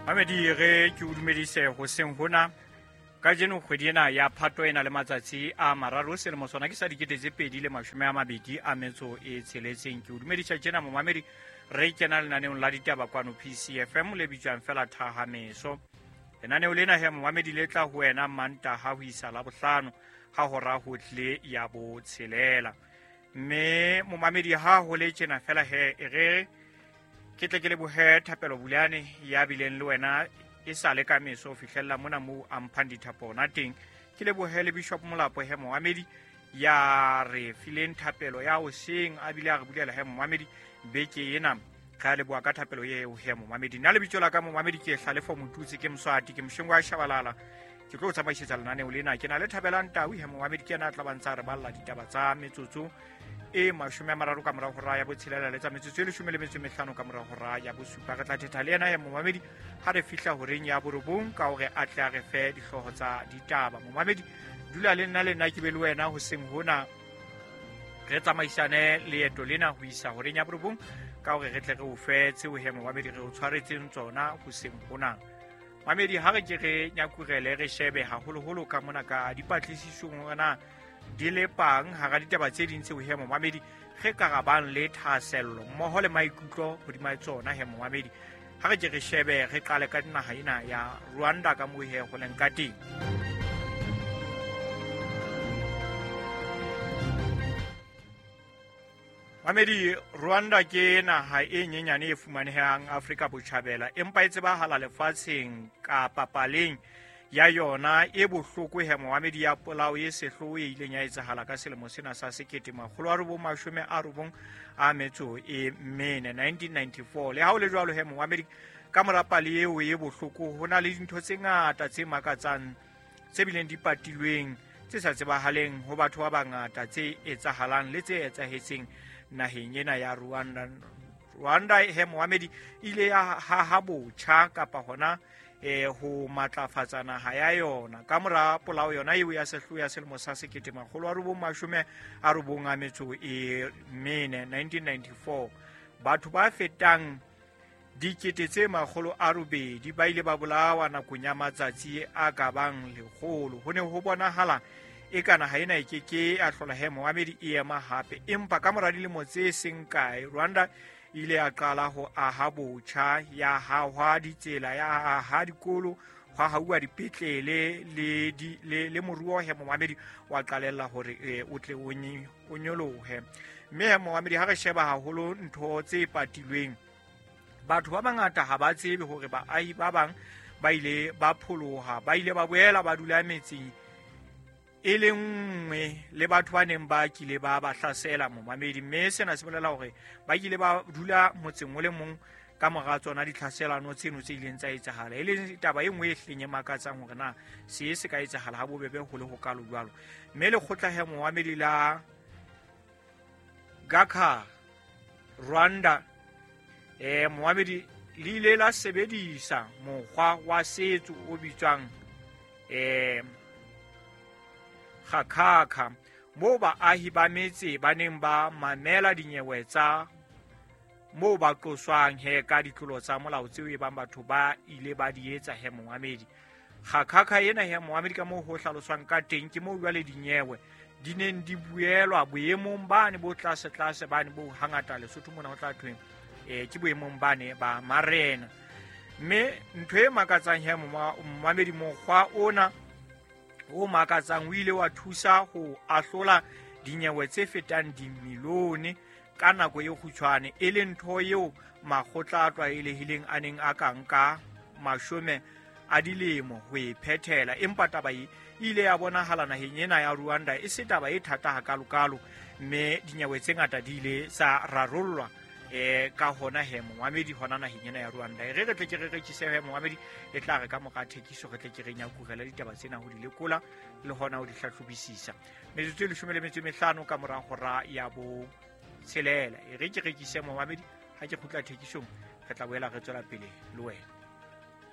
Mamedi re ke o dumedise hoseng hona. Kajeno kgwedi ena ya Phato e na le matsatsi a mararo, selemo sona ke sa 2026. Ke o dumedisa tjena momamedi, re kena lenaneong la ditaba kwano PCFM le bitswang fela Thahameso. Lenaneo lena he momamedi le tla ho wena Mantaha ho isa Labohlano ha hora ho tle ya botshelela. Mme momamedi ha ho le tjena fela he e re ke tle ke lebohe Thapelo Bulane ya bileng le wena e sa le ka meso ho fihlella mona moo a mphang dithapo ona teng. Ke lebohe le Bishop Molapo he momamedi ya re fileng thapelo ya hoseng, a bile a re bulela he momamedi beke ena. Re a leboha ka thapelo eo he momamedi. Nna lebitso la ka momamedi ke Hlalefo Motutsi, ke Moswati, ke Moshengo wa Shabalala. Ke tlo tsamaisetsa lenaneo lena. Ke na le Thabelang Tau he momamedi, ke yena a tla ba ntsa re balla ditaba tsa metsotso e 30 ka mora hora ya botshelela le tsa metsotso e 15 ka mora hora ya bosupa. Re tla thetha le yena he momamedi ha re fihla horeng ya borobong ka hore a tle a re fe dihlooho tsa ditaba. Momamedi dula le nna, le nna ke be le wena hoseng hona, re tsamaisane leeto lena ho isa horeng ya borobong ka hore re tle re o fe tseo he momamedi re o tshwaretseng tsona hoseng hona. Mamedi ha re ke re nyakurele re shebe haholoholo ka mona ka dipatlisisong hore na di le pang hara ditaba tse ding tseo he momamedi re karabang le thahasello mmoho le maikutlo hodima tsona he momamedi. Ha re ke re shebe re qale ka naha ena ya Rwanda ka moo he ho leng ka teng. Mamedi, Rwanda ke naha e nyenyane e fumanehang Afrika Botjhabela, empa e tsebahala lefatsheng kapa paleng ya yona e bohloko he momamedi ya polao e sehloho e ileng ya etsahala ka selemo sena sa 1994, 1994. Le ha ho le jwalo he momamedi, ka mora pale eo e bohloko ho na le dintho tse ngata tse makatsang tse bileng di patilweng tse sa tsebahaleng ho batho ba bangata tse etsahalang le tse etsahetseng naheng ena ya Rwanda. Rwanda he momamedi ile ya haha botjha kapa hona ho matlafatsa naha ya yona ka mora polao yona eo ya sehloho ya selemo sa 1994, 1994. Batho ba fetang 800,000 ba ile ba bolawa nakong ya matsatsi a ka bang 100. Ho ne ho bonahala e ka naha ena e ke ke ya hlola he momamedi e ema hape, empa ka mora dilemo tse seng kae Rwanda ile ya qala ho aha botjha, ya hahwa ditsela, ya aha dikolo, hwa hauwa dipetlele le moruo he momamedi wa qalella hore o tle o nyolohe. Mme he momamedi ha re sheba haholo ntho tse patilweng, batho ba bangata ha ba tsebe hore baahi ba bang ba ile ba pholoha, ba ile ba boela ba dula metseng e le nngwe le batho ba neng ba kile ba ba hlasela momamedi. Mme sena se bolela hore ba kile ba dula motseng o le mong ka mora tsona ditlhaselano tseno tse ileng tsa etsahala, e leng taba e nngwe e hleng e makatsang hore na se se ka etsahala ha bobebe ho le ho kalo jwalo. Mme lekgotla he momamedi la Gakha Rwanda momamedi le ile la sebedisa mokgwa wa setso o bitswang Gakhakha, moo baahi ba metse ba neng ba mamela dinyewe tsa moo ba qoswang he ka ditlolo tsa molao tseo e bang batho ba ile ba di etsa he momamedi. Gakhakha ena he momamedi ka moo ho hlaloswang ka teng ke moo jwale dinyewe di neng di buelwa boemong bane bo tlase tlase bane bo hangata Lesotho mona ho tla thweng ke boemong bane ba marena. Mme ntho e makatsang he momamedi, mokgwa ona o makatsang o ile wa thusa ho ahlola dinyewe tse fetang dimilione ka nako e kgutshwane, e leng ntho eo makgotla a tlwaelehileng a neng a ka nka 10 a dilemo ho e phethela. Empa taba e ile ya bonahala naheng ena ya Rwanda e se taba e thata hakalokalo, mme dinyewe tse ngata di ile tsa rarollwa ka hona he momamedi hona naheng ena ya Rwanda. E re re tle ke re rekise he momamedi, e tla re ka mora thekiso re tle ke re nyakurele ditaba tsena ho di lekola le hona ho di hlahlobisisa. Metsotso e 15 ka mora hora ya bo tshelela. E re ke rekise momamedi, ha ke kgutla thekisong re tla boela re tswela pele le wena.